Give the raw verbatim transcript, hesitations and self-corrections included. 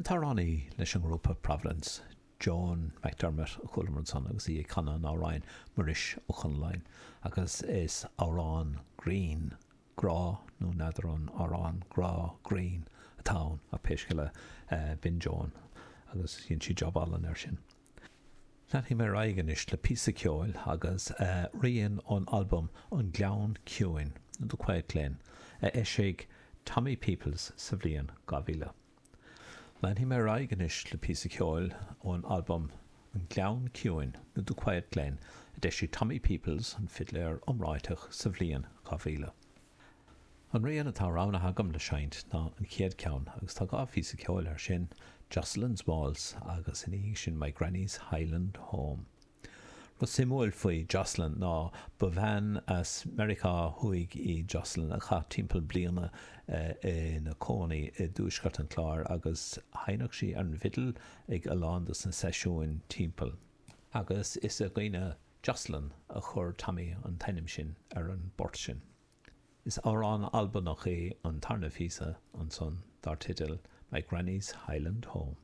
An t-amhránaí leis an ngrúpa Providence, Joan McDermott a chualamar ansan agus í ag canadh an amhráin Muiris Ó Conalláin agus is amhrán grinn, grá nó n'fheadar an amhrán grá grinn atá ann ach pé scéal é b'in Joan agus dhein sí jab álainn air sin. Leanfaidh mé ar aghaidh anois le píosa ceoil agus rian ón albam An Gleann Ciúin, The Quiet Glen, a eisigh Tommy Peoples sa bhliain dhá mhíle. Leanfaidh mé ar aghaidh anois le píosa ceoil ón albam An Gleann Ciúin, nó The Quiet Glen, a d'eisigh Tommy Peoples, an fidléir iomráiteach, sa bhliain dhá mhíle. An rian atá roghnaithe agam le seinnt ná an chéad cheann agus tá dhá phíosa ceoil air sin, Jocelyn's Waltz agus ina dhiaidh sin My Granny's Highland Home. Rud suimiúil faoi Jocelyn ná ba bhean as Meiriceá Thuaidh í Jocelyn a chaith timpeall bliana ina cónaí i dtuaisceart an Chláir agus sheinneadh sí ar an bhfidil ag a lán dos na seisiúin timpeall. Agus is i gcuimhne Jocelyn a chuir Tommy an t-ainm sin ar an bport sin. Is amhrán Albanach é an tarna phíosa ansan dar teideal My Granny's Highland Home.